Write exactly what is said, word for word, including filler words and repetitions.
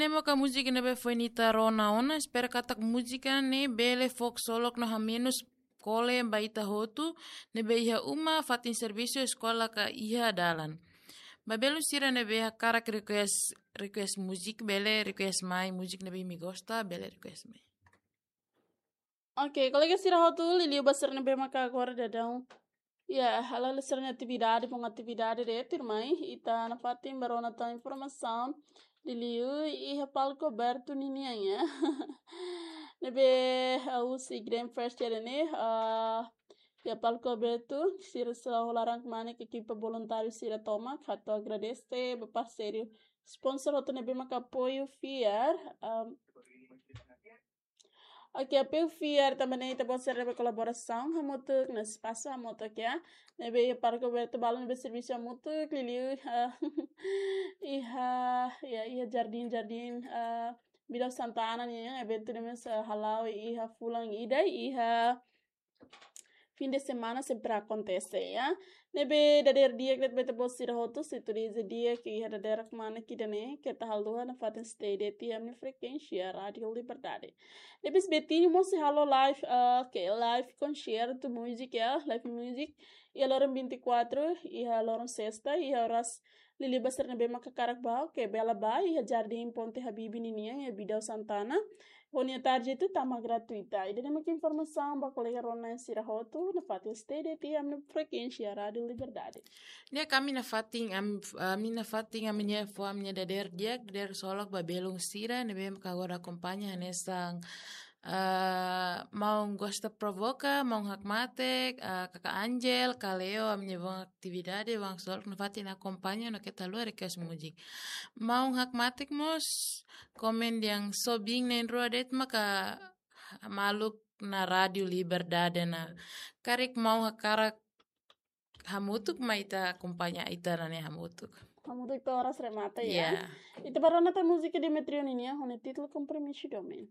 Ne'e maka múzika ne'ebé foin ita rona ona, espera katak múzika ne'e bele fó ksolok no hamenus kole ba ita hotu ne'ebé iha uma, fatin servisu, eskola ka iha dalan. Ba belun sira ne'ebé hakarak request, request múzika, bele request mai múzika ne'ebé imi gosta, bele request mai. Ok, kolega sira hotu, liuliu ba sira ne'ebé maka agora daudaun, ya, hala'o sira-nia atividade, bom, atividade de'it, tuirmai ita nafatin bá rona tan informasaun liuliu iha palku abertu ninian, ya. Ne'ebé, ah, husi Green Fest ida-ne'e, ah, iha palku abertu, sira sira hola ran kmanek, ekipa voluntáriu sira tomak, hato'o agradese ba parseiru, sponsor hotu ne'ebé maka apoiu fiar, ah, ok, apoiu fiar tanba ne'e ita-boot sira ne'ebé kolaborasaun hamutuk, no espasu hamutuk, ya. Ne'ebé iha palku abertu balun ne'ebé servisu hamutuk, liuliu, ah, iha, ya, iha jardín, jardín, ah, Bidau Santana nian, eventu ne'e mós, ah, hala'o iha fulan ida, iha fim de semana sempre akontese, ya. Ne'ebé dadeer di'ak de'it ba ita-boot sira hotu, sintonia di'ak iha dadeer kmanek ida-ne'e, keta haluha nafatin stay de'it iha ami-nia frekuénsia Rádio Liberdade. Depois Betinho mós sei halo live, ah, ke live konsertu múzika, ya, live music. Iha loron vinte e quatro, iha loron sesta, iha oras liuliu ba sira ne'ebé maka hakarak bá, ke bele bá, iha Jardín Ponte Habibie ninian, iha Bidau Santana. Ho nia tarde itu tama gratuita. Ida-ne'e maka informasaun ba kolega rona sira hotu, nafatin stay de'it iha ami-nia frekuénsia Rádio Liberdade. Ne'e ami nafatin, am-, ami nafatin, ami-nia fó, ami-nia dadeer di'ak, dadeer ksolok ba belun sira ne'ebé maka agora akompaña hanesan, ah, maun Gosta Provoka, maun Hakmatek, ah, kaka Angel, ka Leo, ami-nia bom atividade, bom ksolok, nafatin akompaña no keta haluha request múzika. Maun Hakmatek mós komen dehan sobiin na'in-rua de'it maka maluk na Rádio Liberdade ona. Karik maun hakarak hamutuk, mai ita akompaña ita-nia hamutuk. Hamutuk to'o oras remata, ya. Ya. Ita bá rona tan múzika Demetrio nian, ho nia títulu Compromisso Domin.